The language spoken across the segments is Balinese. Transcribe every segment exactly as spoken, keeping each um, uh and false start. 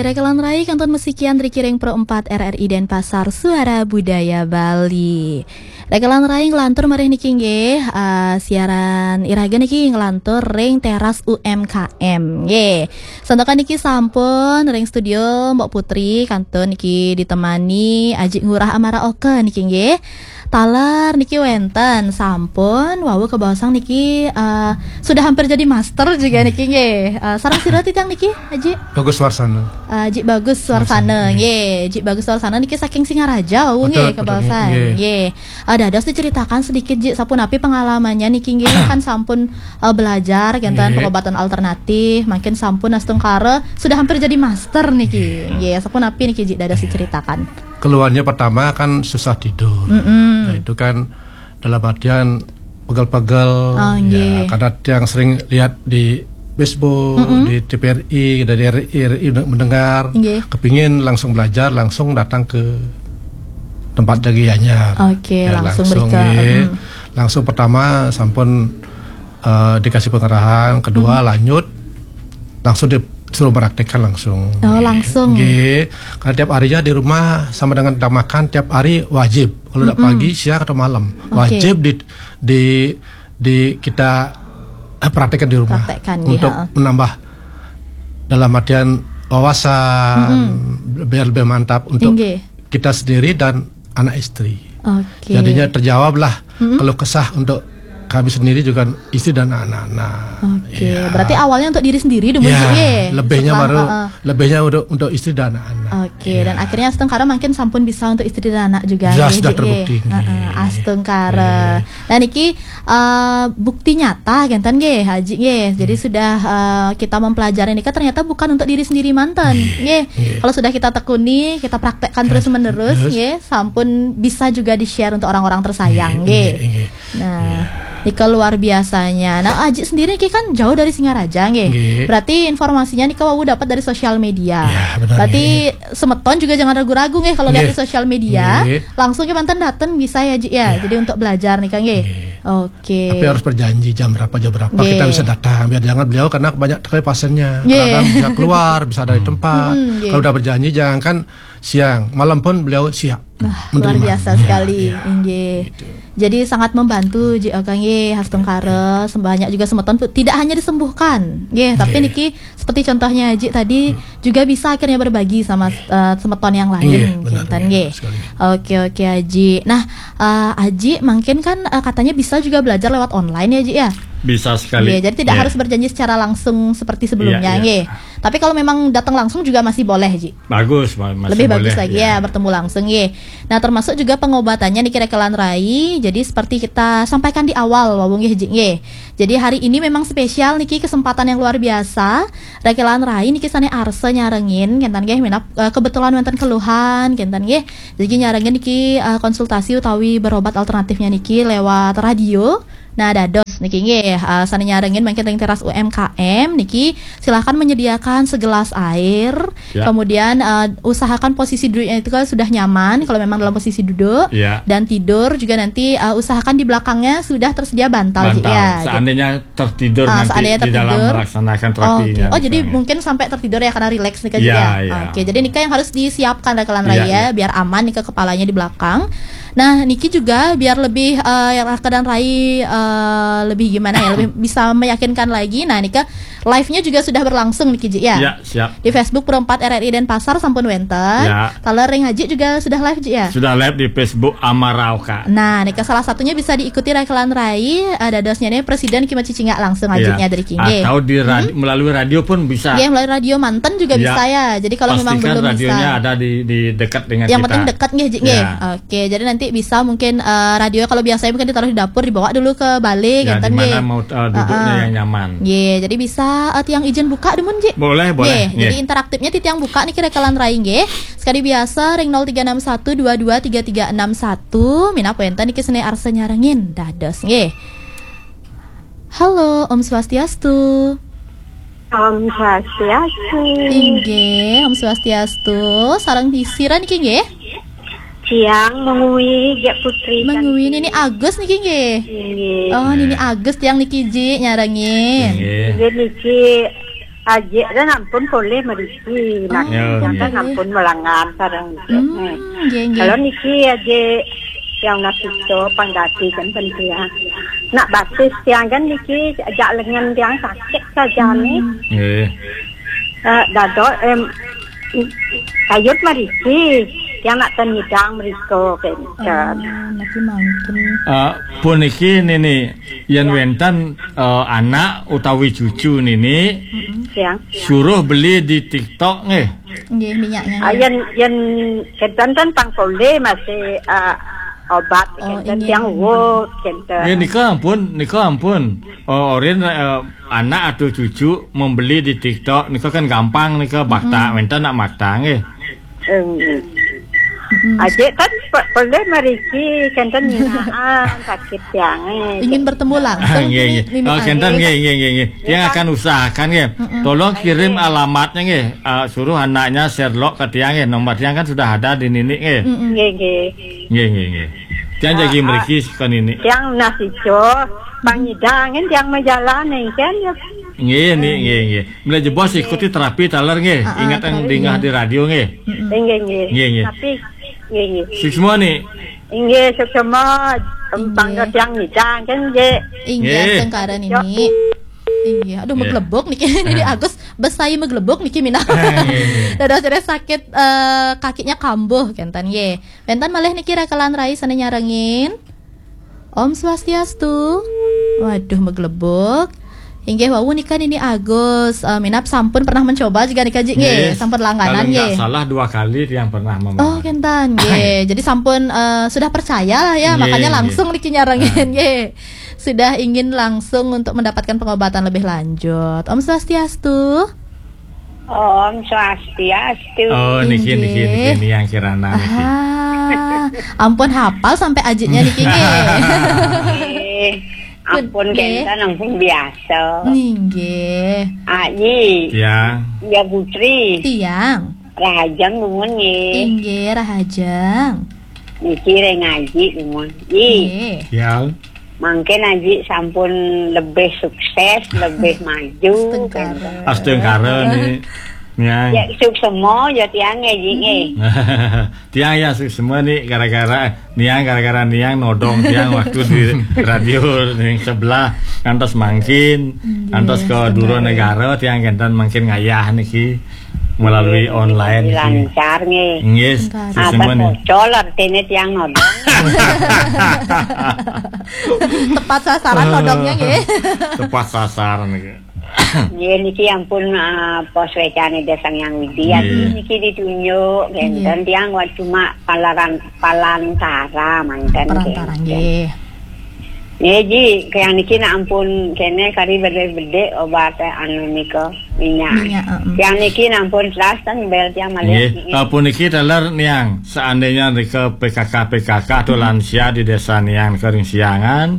Rekelan rai kantun masikian ring Pro empat R R I Denpasar, Suara Budaya Bali. Rekelan rai nglantur malih niki nggih, eh, siaran iraga niki nglantur ring teras U M K M nggih. Santukan niki sampun ring studio Mbok Putri kantun niki ditemani Aji Ngurah Amara Oka niki nggih. Taler niki wenten sampun wau kabaosang niki, eh, sudah hampir jadi master juga niki nggih. Eh, sareng sira titiang niki, Aji? Bagus Warsana. Eh, Ji Bagus Warsana, Warsana, nggih. Ji Bagus Warsana niki saking Singaraja wau nggih, betul, betul, kabaosang nggih. Nggih. Eh, dados diceritakan sedikit, Ji, sapunapi pengalamannya niki nggih, kan sampun, eh, belajar kenten, nggih, pengobatan alternatif, mungkin sampun astungkara sudah hampir jadi master niki. Nggih. Nggih, sapunapi niki, Ji, dados diceritakan. Keluhannya pertama kan susah tidur. Mm-mm. Nah, itu kan dalam artian pegel-pegel, oh, ya, nggih, karena tiang sering lihat di Facebook, mm-mm, di T V R I, dari R I, R I mendengar, nggih, kepingin langsung belajar, langsung datang ke tempat Jagi Anyar. Oke, ya, langsung langsung, mereka, nggih. Mm. Langsung pertama sampun, eh, dikasih pengarahan, kedua, mm, lanjut langsung disuruh praktekkan langsung. Oh, langsung. Nggih. Karena tiap harinya di rumah sama dengan kita makan tiap hari wajib. Kalau tidak, mm-mm, pagi, siang atau malam, oke, wajib di di di kita, eh, praktekkan di rumah. Praktekkan, iya, untuk menambah dalam artian wawasan, mm-mm, biar lebih mantap untuk, nggih, kita sendiri dan anak istri. Oke. Jadinya terjawablah, mm-mm, keluh kesah untuk kami sendiri juga istri dan anak-anak. Oke, iya, berarti awalnya untuk diri sendiri dulu, ya, nggih. Lebihnya setelah, baru, heeh, lebihnya untuk, untuk istri dan anak-anak. Oke, iya, dan akhirnya astungkara mungkin sampun bisa untuk istri dan anak juga, sudah, nggih, sudah, nggih, terbukti, heeh, nggih, astungkara. Nggih. Nah, niki, eh, bukti nyata kenten nggih, Aji nggih. Jadi, hmm, sudah, eh, kita mempelajari nika ternyata bukan untuk diri sendiri manten, nggih, nggih, nggih. Kalau sudah kita tekuni, kita praktekkan terus-menerus, terus, nggih, sampun bisa juga di-share untuk orang-orang tersayang, nggih, nggih, nggih, nggih. Nah, iya, nika luar biasanya. Nah, Aji sendiri niki kan jauh dari Singaraja, nggih. Nggih. Berarti informasinya nika wau dapat dari sosial media. Iya, benar, berarti, nggih, semeton juga jangan ragu-ragu nggih kalau lihat, nggih, di sosial media. Nggih. Langsung ke manten datang bisa ya, Ji, ya. Iya. Jadi untuk belajar nih, Kang, nggih. Nggih. Oke. Tapi harus berjanji jam berapa, jam berapa, nggih, kita bisa datang. Biar jangan beliau karena banyak sekali pasiennya. Nggih. Kadang bisa keluar, bisa dari, hmm, tempat. Hmm, nggih. Kalau udah berjanji, jangankan siang, malam pun beliau siap menerima. Wah, luar biasa sekali. Iya, iya. Nggih. Gitu. Jadi sangat membantu, Ji, Kang, nggih, astungkara, sebanyak juga semeton tu-, tidak hanya disembuhkan, nggih, tapi, nggih, niki seperti contohnya Aji tadi, hmm, juga bisa akhirnya berbagi sama, eh, semeton yang lain, iya, benar, kenten, iya, nggih, sekali. Oke, oke, Aji. Nah, eh, Aji, mungkin kan, eh, katanya bisa juga belajar lewat online ya, Ji, ya? Bisa sekali. Iya, jadi tidak, iya, harus berjanji secara langsung seperti sebelumnya, iya, iya, nggih. Tapi kalau memang datang langsung juga masih boleh, Ji? Bagus, ma-, masih boleh, lebih bagus lagi, ya, bertemu langsung, nggih. Nah, termasuk juga pengobatannya niki Rekelan Rai. Jadi seperti kita sampaikan di awal, wau nggih, Ji, nggih. Jadi hari ini memang spesial niki, kesempatan yang luar biasa. Rekelan Rai niki sane arsa nyarengin, kenten nggih, minab, eh, kebetulan wenten keluhan, kenten nggih. Jadi nyarengin niki, eh, konsultasi utawi berobat alternatifnya niki lewat radio. Nah, dados niki nggih, eh, sane nyarengin mangkin ring teras U M K M niki, silakan menyediakan segelas air. Ya. Kemudian, eh, usahakan posisi duduknya itu kan sudah nyaman, kalau memang dalam posisi duduk. Ya. Dan tidur juga nanti, eh, usahakan di belakangnya sudah tersedia bantal, Ji, bantal, ya, gitu. Seandainya tertidur, ah, nanti seandainya di dalam tertidur, melaksanakan terapinya, oke. Oh, jadi misalnya mungkin sampai tertidur ya, karena rileks nih, Kak, ya, ya. Ya. Oke, jadi nika yang harus disiapkan Rekelan Rai, iya, ya, iya, biar aman nih ke kepalanya di belakang. Nah, niki juga biar lebih, eh, Rekelan Rai, eh, lebih gimana ya, lebih bisa meyakinkan lagi. Nah, nika live-nya juga sudah berlangsung niki, Ji, ya? Ya, siap. Di Facebook Pro empat R R I Denpasar sampun wenten. Ya. Taler ring Aji juga sudah live, Ji, ya? Sudah live di Facebook Amara Oka. Nah, nika salah satunya bisa diikuti Rekelan Rai, eh, dadosnya nih Presiden Kima Cicingak langsung, iya, Ajinya dari Kingge. Atau di radi-, hmm? Melalui radio pun bisa. Iya, melalui radio manten juga, iya, bisa ya. Jadi kalau memang pastikan belum radionya bisa, ada di, di dekat dengan kita. Yang penting dekat nggih, Ji, nggih. Ya. Oke, jadi nanti bisa mungkin, eh, radio kalau biasanya mungkin ditaruh di dapur, dibawa dulu ke bale, ya, kenten, di mana nggih, mau, eh, duduknya, heeh, yang nyaman. Nggih, jadi bisa, eh, tiang ijen buka dumun, Ji? Boleh, boleh. Nggih, nggih, jadi interaktifnya titiang buka niki Rekelan Rai nggih. Sekadi biasa ring nol tiga enam satu dua dua tiga tiga enam satu, minab wenten niki sane arsa nyarengin dados nggih. Halo, Om Swastiastu. Om Swastiastu. Inggih, Om Swastiastu. Sareng sira niki nggih? Tiang Mengwi, Gék Putri. Mengwi, Nini Agus niki nggih? Inggih. Oh, Nini Agus tiang niki, Ji, nyarengin. Inggih. Inggih niki. Ajik kan ampun polih mriki, nah, Ya, tiang kan nggih. Ampun malangan sareng. Hmm, nggih, nggih. Kalau niki ajik tiang nasita pang dadi kan penting. Nak batis tiang kan niki ajak lengan tiang sakit saja nih. Hmm. Nggih. Eh, dadok, em, kayut mriki, tiang nak ten nyidang mriko kan. Oh, niki mangkin. Eh, puniki nini, yen wenten, eh, anak utawi cucu nini, Tiang. Suruh beli di TikTok nggih. Nggih, minyaknya. Ah, yen, yen kenten kan pang polih masih, ah, obat, oh, kenten inggih. Tiang wut, kenten. Nggih, nika ampun, nika ampun. Oh, orin, eh, anak atau cucu membeli di TikTok, nika kan gampang nika, bakta, wenten nak makta nggih. Em, Ajik kan pe-, polih mriki, kenten nginaan sakit tiang, eh. Ingin bertemu langsung. Nggih, nggih. Nini, oh, kenten, nggih, nggih, nggih, nggih. Tiang akan usahakan nggih. Tolong kirim alamatnya nggih. Ah, suruh anaknya share log ke tiang nggih. Nomor tiang kan sudah ada di nini nggih. Nggih, nggih. Nggih, nggih, nggih. Tiang jagi mriki ke nini. Tiang nasita pang nyidang kan tiang majalan kan ya. Nggih, nggih, nggih, nggih. Mula jebos ikuti terapi taler nggih. Ah, ah, ingat yang terapi, dingah nggih. Di radio nggih. Nggih, nggih. Nggih, nggih. Tapi, nggih, nggih. Suksma nih. Nggih, suksma. Nggih. Bangga tiang nyidang kan nggih. Nggih, nggih. Astungkara nini. Nggih, aduh, maglebok niki. Nini Agus besai maglebok niki mina. Nggih, nggih. Dados sakit, eh, kakinya kambuh kenten nggih. Wenten malih niki rakalan rai sane nyarengin. Om Swastiastu. Waduh, maglebok. Inggih wau nika nini Agus, eh, minab sampun pernah mencoba juga nika Ji nggih, sampun langganan nggih. Kalau nggak salah dua kali tiang pernah memakai. Oh, kenten nggih. Jadi sampun, eh, sudah percaya lah ya, makanya langsung niki nyarengin nggih. Sudah ingin langsung untuk mendapatkan pengobatan lebih lanjut. Om Swastiastu. Om Swastiastu. Oh, niki, niki, niki, niki yang kirana niki. Aha. Ampun hafal sampai ajiknya niki nggih. Nggih. Ampun kenten ampun biasa. Nggih. Aji. Tiang. Ya Putri. Tiang. Rahajeng nuwun nggih. Inggih, rahajeng. Niki ring Aji nuwun. Nggih. Nggih. Tiang. Mangkin Aji sampun lebih sukses, lebih maju. Astungkara. Astungkara nih. Niang. Ya, suksma ya tiang nggih, Ji nggih. Tiang ya suksma nih gara-gara niang, gara-gara niang nodong tiang waktu di radio ning sebelah ngantos mangkin, nggih, ngantos ke Duro Negara tiang kenten mangkin ngayah niki melalui online niki. Lancar nggih. Nggih, suksma nih. Apa bocor artine tiang nodong. Tepat sasaran nodongnya nggih. Tepat sasaran niki. Nggih, niki ampun, ah, pos wecane Ida Sang Hyang Widi. Nggih. Niki ditunjuk, nggih, kenten tiang wa cuma palaran-, palantara manten. Perantara, nggih. Nggih, Ji, kayang niki nak ampun kene kari bedek-bedek obat, eh, anu nika, minyak. Minyak, heeh. Kayang niki nak ampun teras ten bel tiang malih. Nggih, niki. Ampun niki taler niang, seandainya nika P K K, P K K atau lansia di desa niang kering siangan,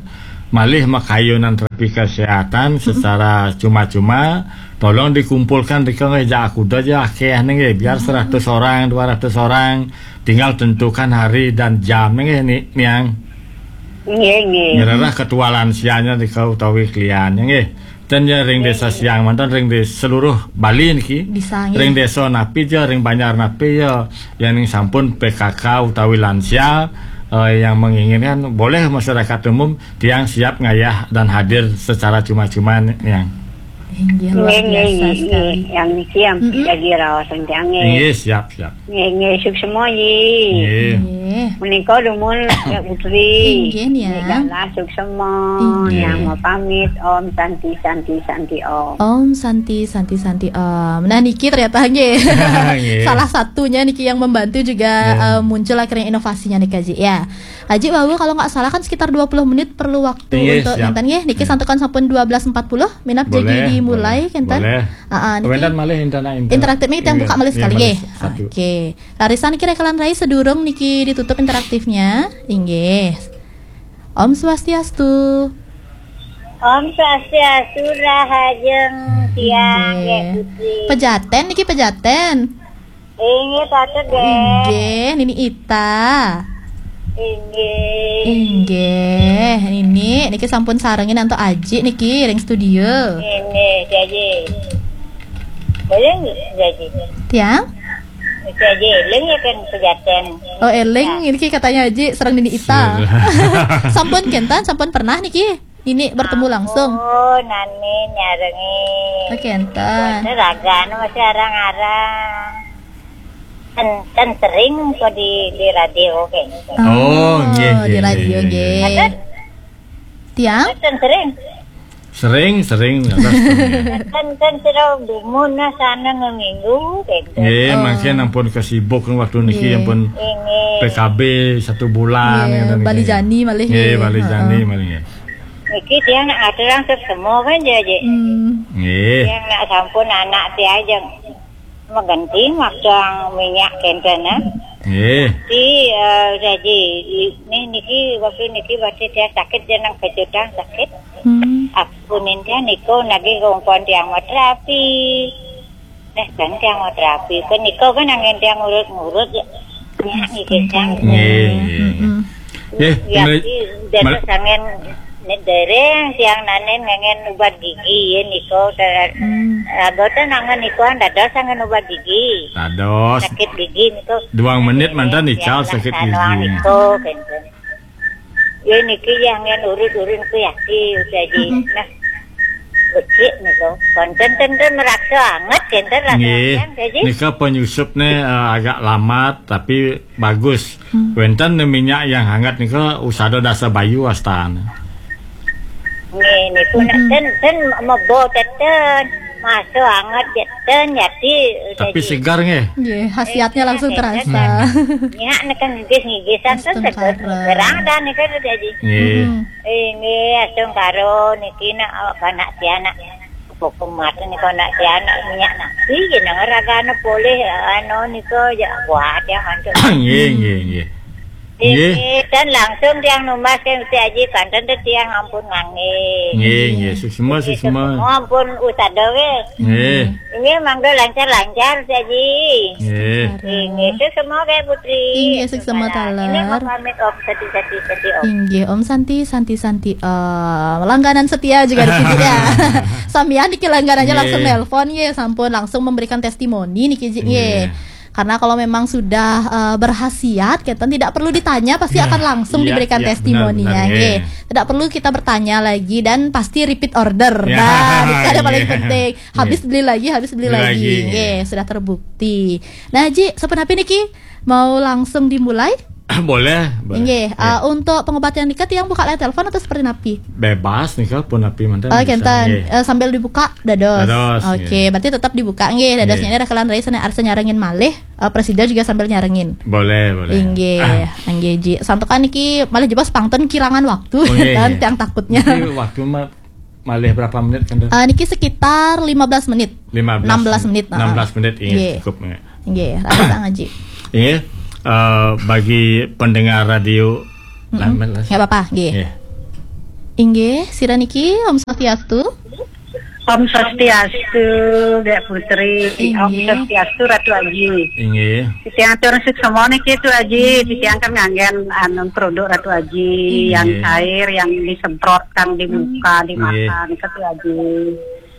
malih makayunan terapi kesehatan secara cuma-cuma, tolong dikumpulkan di kene ja aku aja akeh nggih, biar seratus orang, dua ratus orang, tinggal tentukan hari dan jam nggih ni, niang. Nggih, nggih. Nyererah ketua lansianya di kau utawi kliennya nggih. Dan ya ring desa siang mantan ring di seluruh Bali niki. Bisa, nggih. Ring desa napi ja, ring banjar napi ya, yang ning sampun P K K utawi lansia, eh, yang menginginkan boleh masyarakat umum tiang siap ngayah dan hadir secara cuma-cuma niang. Inggih, luar biasa sekali. Yang niki yang jadi raos tiang nggih. Nggih, siap, siap. Nggih, nggih, suksma, Ji. Nggih. Nggih. Menika dumun ya Putri. Inggih, niang. Nggih, galah suksma. Inggih. Yang mau pamit, Om Santi, Santi, Santi, Om. Om Santi, Santi, Santi, Om. Nah, niki ternyata nggih. Nggih. Salah satunya niki yang membantu juga, eh, muncul akhirnya inovasinya nih, Kaji. Ya. Aji wau kalau nggak salah kan sekitar dua puluh menit perlu waktu untuk nonton nggih. Niki santukan sampun dua belas empat puluh, minap jagi dimulai, kenten. Boleh. Heeh, niki. Kemudian malih intana inter-, interaktifnya kita buka malih sekali nggih. Oke. Rarisan kira kalan rai sedurung niki ditutup interaktifnya. Inggih. Om Swastiastu. Om Swastiastu, rahajeng tiang nggih, Putri. Pejaten niki, Pejaten. Inggih, patut, nggih. Inggih, Nini Ita. Inggih. Inggih, Nini, niki sampun sarengin antuk Aji niki ring studio. Inggih, Aji. Boleh nggak, Ji? Tiang? Bisa aja, eling ya kan pejaten. Oh, eling, ini ki katanya Aji serang Nini Ita. Sampun kentan, sampun pernah niki. Ini bertemu langsung. Oh, nani nyarengi. Oh, kentan. Ini raga anu masih arang-arang. Kan, kan sering kok di, di radio kayak gitu. Oh, nggih, nggih, di radio, nggih, nggih. Nggih. Ada? Tiang? Kan sering. Sering, sering, atas sering. Kan, kan sira dumun nah sana ngeminggu, gitu. Nggih, oh, mangkin ampun kesibuk waktu niki, nggih, ampun. Nggih. P K B satu bulan, nggih, ngoten niki. Bali jani malih, nggih, nggih. Bali jani, heeh, malih, nggih. Niki dia nak ngaturang semua kan, Ji. Hmm. Nggih. Dia nak sampun anak dia aja. Mengganti waktu yang minyak kenten, eh. Nggih. Di, eh, jadi, ini niki waktu niki waktu dia sakit, dia nang kejutan sakit. Hmm. Aku ninja niko nagi kongkon tiang mau terapi. Nah, kan tiang mau terapi. Kan niko kan angin tiang ngurut-ngurut ya. Ya, niki tiang. Nggih, nggih. Mm-mm. Nggih, ya, mal-, di dados mal- angin nek dereng tiang nanen ngangen ubat gigi ya niko. Hmm. Boten angin niko dados angin ubat gigi. Dados. Sakit gigi niko. Duang menit mantan ical sakit gigi. Niko, kenten. Ya niki yang yang urut-urut ku ya, si udah di, nah, becik niko. Konten-konten meraksa anget, kenten rasa. Nggih. Yang jadi. Nika penyusup ne, eh, agak lamat, tapi bagus. Hmm. Wenten ne minyak yang hangat nika usada dasa bayu astan. Nggih, niku nak ten, ten mebo teten. Masuk anget ya, ten, jadi. Tapi jadi segar nggih. Nggih, khasiatnya langsung terasa. Nyak neken ngigis-ngigisan tuh segar. Astungkara. Gerang dan nika tuh jadi. Nggih. Hmm. Ini astungkara niki nak awak anak si anak. Pokok mata nih kau nak si anak minyak nasi je nang raga anu boleh anu nika je buat yang mantu. Nggih, nggih, nggih. Nggih. Nggih, dan langsung tiang numbas kan Gusti Aji, panten teh tiang ampun nganggih. Nggih, nggih, suksma, suksma. Semua ampun usada weh. Nggih. Ini mangga lancar-lancar Gusti Aji. Nggih. Nggih, suksma kayak Putri. Nggih, suksma taler. Ini mau pamit Om Santi, Santi, Santi, Om. Inggih, Om Santi, Santi, Santi, eh, langganan setia juga di sini ya. Samian niki langganannya langsung nelpon, nggih, sampun langsung memberikan testimoni niki, Ji, nggih. Nggih. Karena kalau memang sudah, eh, berhasiat, kita tidak perlu ditanya, pasti akan langsung diberikan testimoninya, nggih. Tidak perlu kita bertanya lagi dan pasti repeat order. Ya, nah, itu ada paling penting. Habis beli lagi, habis beli lagi. Nggih, sudah terbukti. Nah, Ji, sapunapi niki mau langsung dimulai? Boleh, boleh. Nggih, eh, untuk pengobatan nika tiang buka line telepon atau seperti napi? Bebas nika pun napi manten. Oh, bisa, kenten. Nggih. Eh, sambil dibuka dados. Dados, oke, nggih. Berarti tetap dibuka nggih. Dadosnya ini ada kelan rai sana arsa nyarengin malih. Eh, presida juga sambil nyarengin. Boleh, boleh. Inggih, inggih, Ji. Santukan niki malih jebos pangten kirangan waktu. Oh, nggih, dan nggih. Tiang takutnya. Niki waktu ma-, malih berapa menit kan? Eh, niki sekitar lima belas menit. Lima belas. Enam belas menit, enam belas menit, inggih, cukup, nggih. Inggih, rasa ngaji. Inggih, eh, bagi pendengar radio, mm-mm, lamen lah. Nggak apa-apa, nggih. Nggih. Inggih, sira niki, Om Swastiastu. Om Swastiastu, Dek Putri. Inggih. Om Swastiastu, Ratu Aji. Inggih. Titiang atur suksma niki, Tu Aji. Inggih. Titiang kan nganggen anu produk Ratu Aji, inggih, yang cair, yang disemprot, kang dibuka, inggih, dimakan, ke Tu Aji.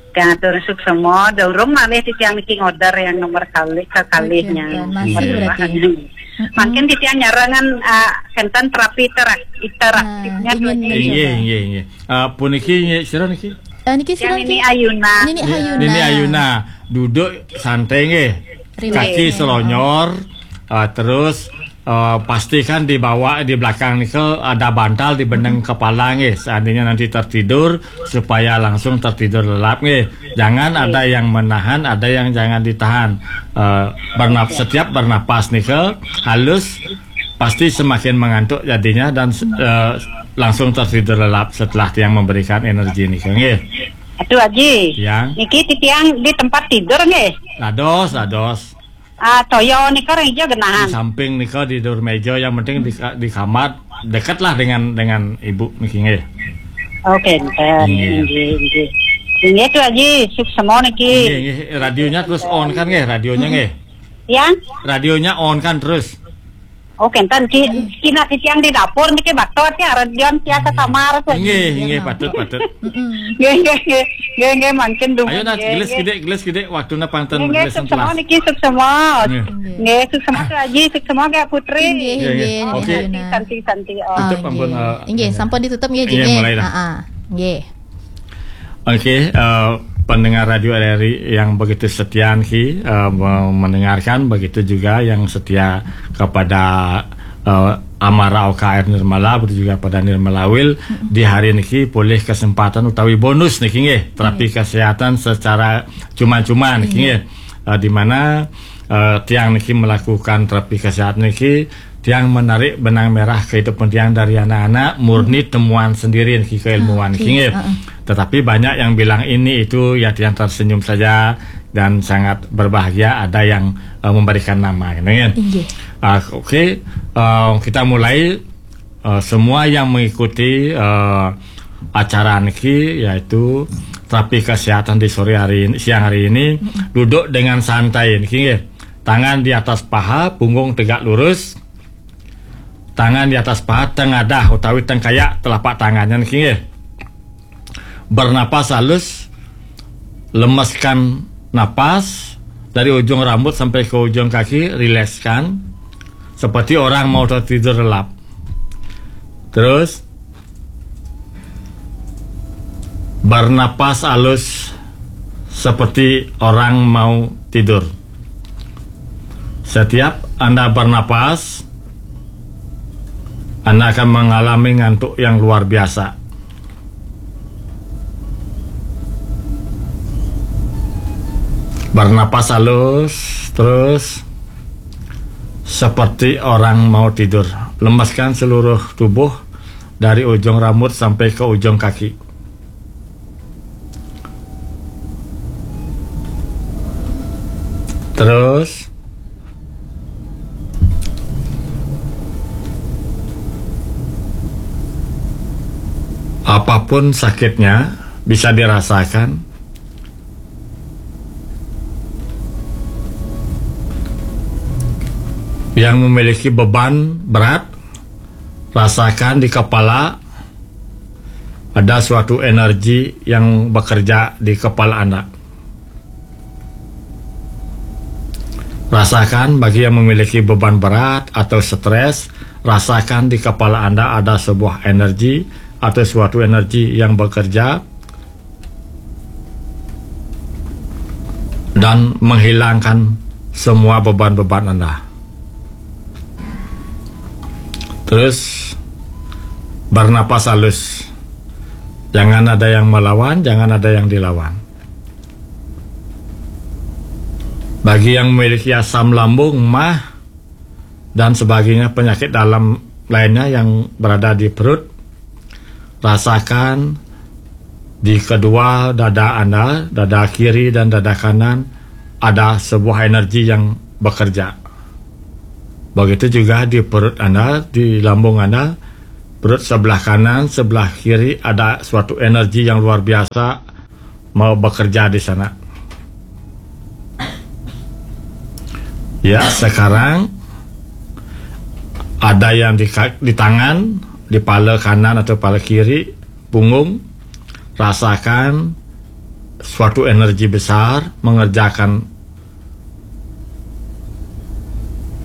Titiang atur suksma, durung malih titiang niki ngorder yang nomor kali, kekalihnya. Oke, oke. Masih berarti. Mm-mm. Mungkin titiang nyarangan, ah, kenten terapi interak-, interaktifnya. Nah, ingin mencoba. Inggih, inggih, inggih. Ah, puniki nggih, sira niki? Eh, niki sira niki? Nini Ayuna. Nini Ayuna. Nini Ayuna. Duduk santai nggih. Relax. Kaki selonyor, ah, terus, eh, pastikan di bawah, di belakang nika ada bantal di beneng kepala nggih. Seandainya nanti tertidur, supaya langsung tertidur lelap nggih. Jangan ada yang menahan, ada yang jangan ditahan. Eh, bernap-, setiap bernapas nika halus, pasti semakin mengantuk jadinya dan, eh, langsung tertidur lelap setelah tiang memberikan energi nika nggih. Aduh, Aji. Ya. Niki titiang di tempat tidur nggih. Dados, dados. Ah, toya nika ring ija genahan. Di samping nika di dur meja, yang penting di ka-, di kamar, dekatlah dengan, dengan ibu niki nggih. Oke, enten. Nggih. Nggih, nggih. Nggih, Tu Aji, suksma niki. Nggih, nggih. Radionya terus on kan nggih, radionya nggih. Ya? Radionya on kan terus. Oh, kénten, Ki. Kina titiang di dapur niki, bato tiang, redion sia ka kamar. Nggih, nggih, patut, patut. Nggih, nggih, nggih. Nggih, nggih, mangkin dumun. Ayo, Nat, gelis kidik, gelis kidik, waktuna pang ten gelis. Nggih, suksma niki, suksma. Nggih, suksma Kak Aji, suksma Kak Putri. Nggih, nggih. Oke. Santi, santi. Oh. Tutup, ampun. Nggih, sampun ditutup nggih, Ji. Nggih, mulai dah. Heeh. Nggih. Oke, uh, pendengar Radio R R I yang begitu setia, Ki, uh, mendengarkan, begitu juga yang setia kepada uh, Amara O K R Nirmala, begitu juga pada Nirmala Wil. Di hari niki polih kesempatan utawi bonus niki, nggih, terapi kesehatan secara cuma-cuma niki, nggih. Uh, di mana uh, tiang niki melakukan terapi kesehatan niki, tiang menarik benang merah kehidupan tiang dari anak-anak, murni temuan sendiri niki, keilmuan niki, nggih. Tetapi banyak yang bilang ini itu, ya, tiang tersenyum saja dan sangat berbahagia ada yang uh, memberikan nama, gitu, kan? Nggih. Uh, oke, uh, kita mulai. Uh, semua yang mengikuti uh, acara niki, yaitu terapi kesehatan di sore hari ini, siang hari ini, duduk dengan santai niki, nggih. Tangan di atas paha, punggung tegak lurus. Tangan di atas paha, tengadah utawi tengkayak telapak tangannya niki, nggih. Bernapas halus, lemeskan napas dari ujung rambut sampai ke ujung kaki, rilekskan seperti orang mau tertidur lelap. Terus bernapas halus seperti orang mau tidur. Setiap Anda bernapas, Anda akan mengalami ngantuk yang luar biasa. Bernapas halus terus, seperti orang mau tidur. Lemaskan seluruh tubuh dari ujung rambut sampai ke ujung kaki. Terus apapun sakitnya bisa dirasakan. Yang memiliki beban berat, rasakan di kepala ada suatu energi yang bekerja di kepala Anda. Rasakan bagi yang memiliki beban berat atau stres, rasakan di kepala Anda ada sebuah energi atau suatu energi yang bekerja dan menghilangkan semua beban-beban Anda. Terus bernapas halus. Jangan ada yang melawan, jangan ada yang dilawan. Bagi yang memiliki asam lambung, mah, dan sebagainya, penyakit dalam lainnya yang berada di perut, rasakan di kedua dada Anda, dada kiri dan dada kanan, ada sebuah energi yang bekerja. Begitu juga di perut Anda, di lambung Anda, perut sebelah kanan, sebelah kiri, ada suatu energi yang luar biasa mau bekerja di sana. Ya, sekarang ada yang di, di tangan, di pala kanan atau pala kiri, punggung, rasakan suatu energi besar mengerjakan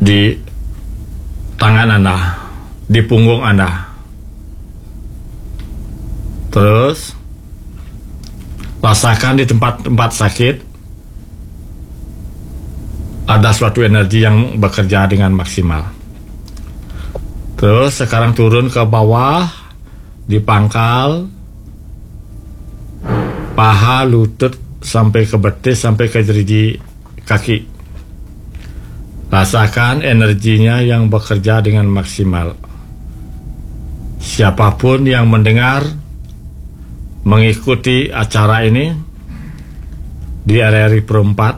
di tangan Anda, di punggung Anda. Terus rasakan di tempat-tempat sakit ada suatu energi yang bekerja dengan maksimal. Terus sekarang turun ke bawah, di pangkal, paha, lutut, sampai ke betis, sampai ke jeriji kaki. Rasakan energinya yang bekerja dengan maksimal. Siapapun yang mendengar, mengikuti acara ini di R R I Pro empat,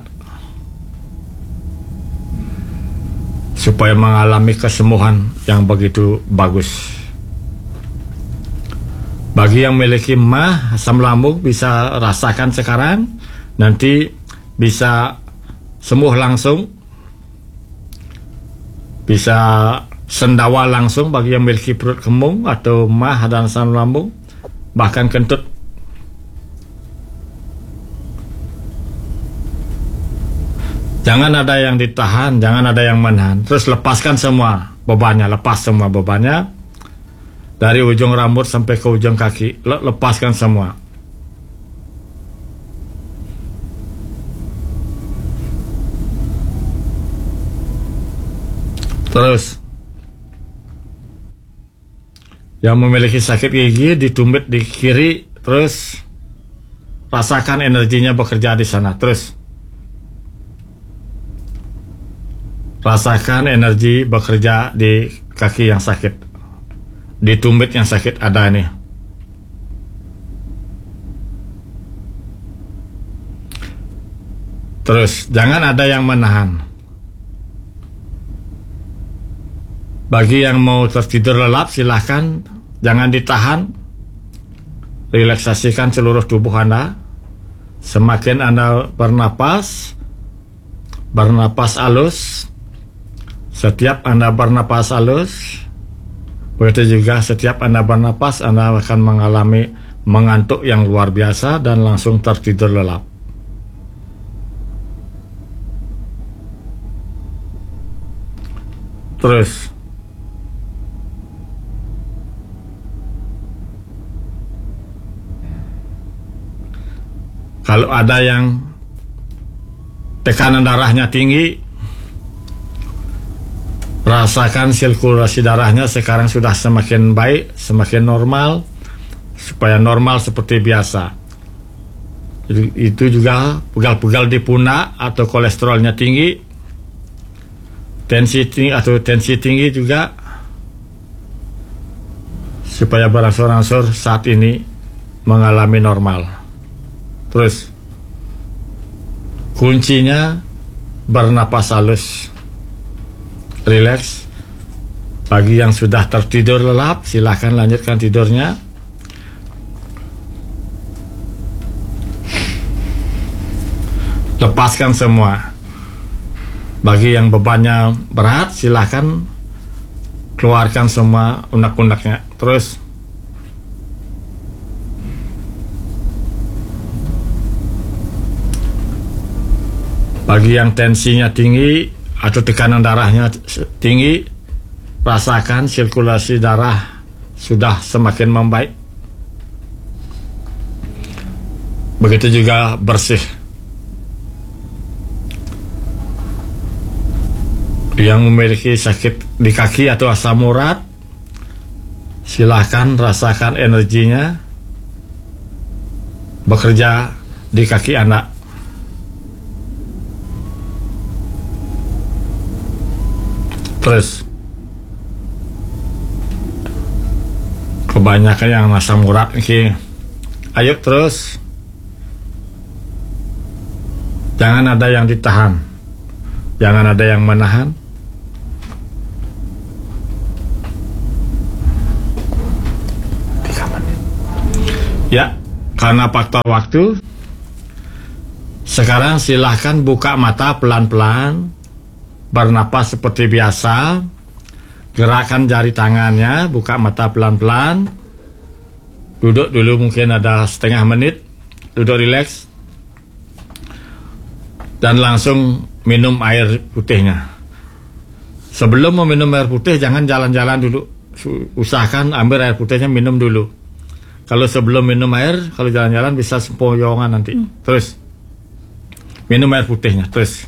supaya mengalami kesembuhan yang begitu bagus. Bagi yang memiliki mah, asam lambung, bisa rasakan sekarang, nanti bisa sembuh langsung, bisa sendawa langsung bagi yang memiliki perut kembung atau mah dan asam lambung, bahkan kentut. Jangan ada yang ditahan, jangan ada yang menahan. Terus lepaskan semua bebannya, lepas semua bebannya. Dari ujung rambut sampai ke ujung kaki, le- lepaskan semua. Terus, yang memiliki sakit gigi, di tumit di kiri, terus rasakan energinya bekerja di sana. Terus, rasakan energi bekerja di kaki yang sakit, di tumit yang sakit ada ini. Terus, jangan ada yang menahan. Bagi yang mau tertidur lelap, silahkan, jangan ditahan. Relaksasikan seluruh tubuh Anda. Semakin Anda bernapas, bernapas halus. Setiap Anda bernapas halus, begitu juga setiap Anda bernapas, Anda akan mengalami mengantuk yang luar biasa dan langsung tertidur lelap. Terus, kalau ada yang tekanan darahnya tinggi, rasakan sirkulasi darahnya sekarang sudah semakin baik, semakin normal, supaya normal seperti biasa. Itu juga pegal-pegal di pundak atau kolesterolnya tinggi, tensi tinggi atau tensi tinggi juga, supaya berangsur-angsur saat ini mengalami normal. Terus, kuncinya bernapas halus, rileks. Bagi yang sudah tertidur lelap, silahkan lanjutkan tidurnya. Lepaskan semua. Bagi yang bebannya berat, silahkan keluarkan semua unek-uneknya. Terus, bagi yang tensinya tinggi atau tekanan darahnya tinggi, rasakan sirkulasi darah sudah semakin membaik. Begitu juga bersih. Yang memiliki sakit di kaki atau asam urat, silahkan rasakan energinya bekerja di kaki Anda. Terus, kebanyakan yang asam urat ini. Ayo terus. Jangan ada yang ditahan. Jangan ada yang menahan. Tiga menit. Ya, karena faktor waktu, sekarang silahkan buka mata pelan-pelan, bernapas seperti biasa, gerakan jari tangannya, buka mata pelan-pelan, duduk dulu mungkin ada setengah menit, duduk rileks, dan langsung minum air putihnya. Sebelum meminum air putih, jangan jalan-jalan dulu. Usahakan ambil air putihnya, minum dulu. Kalau sebelum minum air, kalau jalan-jalan bisa sempoyongan nanti. Hmm. Terus, minum air putihnya, terus.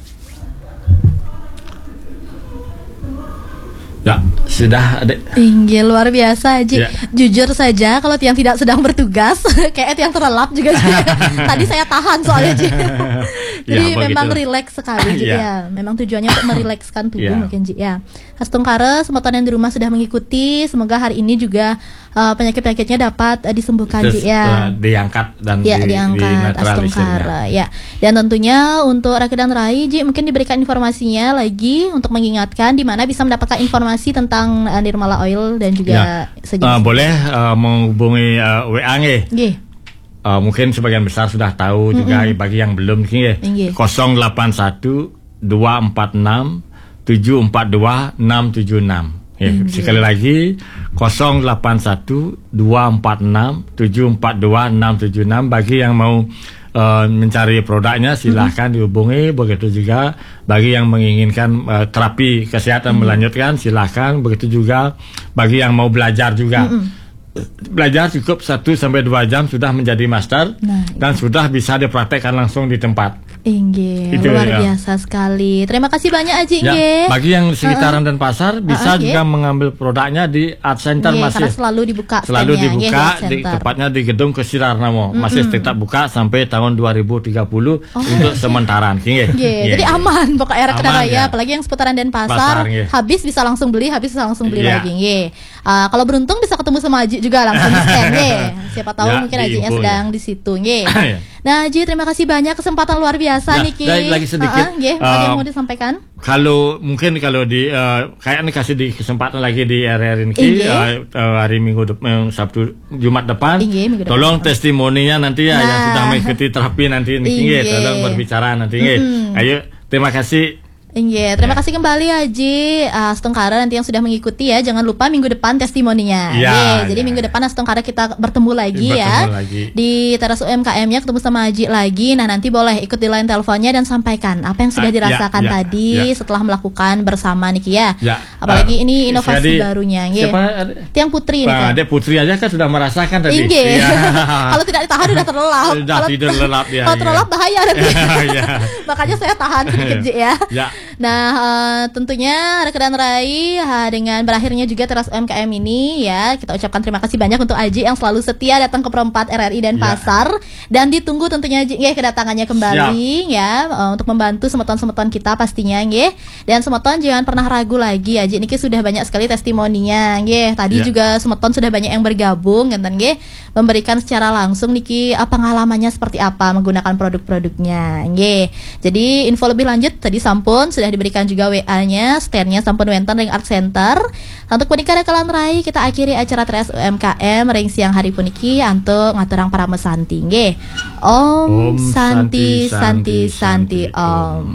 Ya, sudah, Adik. Inggih, luar biasa, Ji. Ya. Jujur saja, kalau tiang tidak sedang bertugas, kayak tiang terlelap juga, Ji. Tadi saya tahan soalnya, Ji. Jadi ya, memang rileks sekali, Ji. Ya. Ya, memang tujuannya untuk merilekskan tubuh, ya, mungkin, Ji. Ya. Astungkara, semua yang di rumah sudah mengikuti. Semoga hari ini juga uh, penyakit-penyakitnya dapat uh, disembuhkan. Terus, ya, uh, diangkat dan ya, di, diangkat, dinetralisirnya. Astungkara, ya. Dan tentunya untuk Raka dan Rai, Ji, mungkin diberikan informasinya lagi untuk mengingatkan di mana bisa mendapatkan informasi tentang uh, Nirmala Oil dan juga ya, sejenisnya. Uh, boleh uh, menghubungi uh, W A nggih. Nggih. Uh, mungkin sebagian besar sudah tahu juga, bagi yang belum nggih. Nggih. Kosong delapan satu dua empat enam tujuh empat dua enam tujuh enam. Ya, sekali lagi, kosong delapan satu dua empat enam tujuh empat dua enam tujuh enam. Bagi yang mau uh, mencari produknya, silahkan dihubungi. Begitu juga bagi yang menginginkan uh, terapi kesehatan melanjutkan, silahkan. Begitu juga bagi yang mau belajar juga. Belajar cukup satu sampai dua jam sudah menjadi master. Nah, dan sudah bisa dipraktekkan langsung di tempat. Inggih, luar biasa sekali. Terima kasih banyak, Aji. Ya, inggih. Bagi yang sekitaran Denpasar, bisa juga mengambil produknya di Art Center. Inggih, masih karena selalu dibuka, selalu dibuka di tempatnya di gedung Kesirar Namo. Masih tetap buka sampai tahun dua ribu tiga puluh untuk sementara. Inggih. Inggih. Jadi aman pokoknya, rekan-rekan ya, apalagi yang seputaran Denpasar. Habis bisa langsung beli, habis bisa langsung beli lagi. Inggih. Uh, kalau beruntung bisa ketemu sama Aji juga langsung di stand, ya. Siapa tahu ya, mungkin Ajinya sedang di situ, nggih. Nah, Aji, terima kasih banyak, kesempatan luar biasa nih, Ki. Lagi sedikit. Uh, uh, uh, yang mau disampaikan? Kalau mungkin kalau di uh, kayaknya kasih di kesempatan lagi di R R I Niki, uh, uh, hari Minggu depan, Sabtu, Jumat depan. Inggih, Minggu depan. Tolong testimoninya nanti ya, nah, yang sudah mengikuti terapi nanti, nggih, tolong berbicara nanti, nggih. Ayo, terima kasih. Inggih, terima kasih kembali Aji uh, Astungkara nanti yang sudah mengikuti ya. Jangan lupa minggu depan testimoninya. Ya, jadi minggu depan Astungkara kita bertemu lagi ya. Di teras U M K M-nya ketemu sama Aji lagi. Nah, nanti boleh ikut di line teleponnya dan sampaikan apa yang sudah dirasakan tadi setelah melakukan bersama niki ya. Apalagi ini inovasi barunya, nggih. Tiang Putri nih. Nah, Dek Putri aja kan sudah merasakan tadi. Inggih. Kalau tidak ditahan udah terlelap. Udah tidur lelap ya. Kalau terlelap bahaya nanti. Makanya saya tahan sedikit, Ji, ya. Nah, uh, tentunya rekan-rekan Rai, uh, dengan berakhirnya juga teras U M K M ini ya, kita ucapkan terima kasih banyak untuk Aji yang selalu setia datang ke Perempat R R I Denpasar dan ditunggu tentunya Aji, nggih, kedatangannya kembali ya, uh, untuk membantu semeton-semeton kita pastinya, nggih. Dan semeton jangan pernah ragu lagi, Aji niki sudah banyak sekali testimoninya, nggih. Tadi juga semeton sudah banyak yang bergabung, ngenten, nggih, memberikan secara langsung niki uh, pengalamannya seperti apa menggunakan produk-produknya, nggih. Jadi info lebih lanjut tadi sampun sudah diberikan juga W A-nya, stand-nya sampun wenten ring Art Center. Untuk punika rekan-rekan Rai, kita akhiri acara teras U M K M ring siang hari puniki antuk ngaturang parama santi, nggih. Om Santi, Santi, Santi, Om.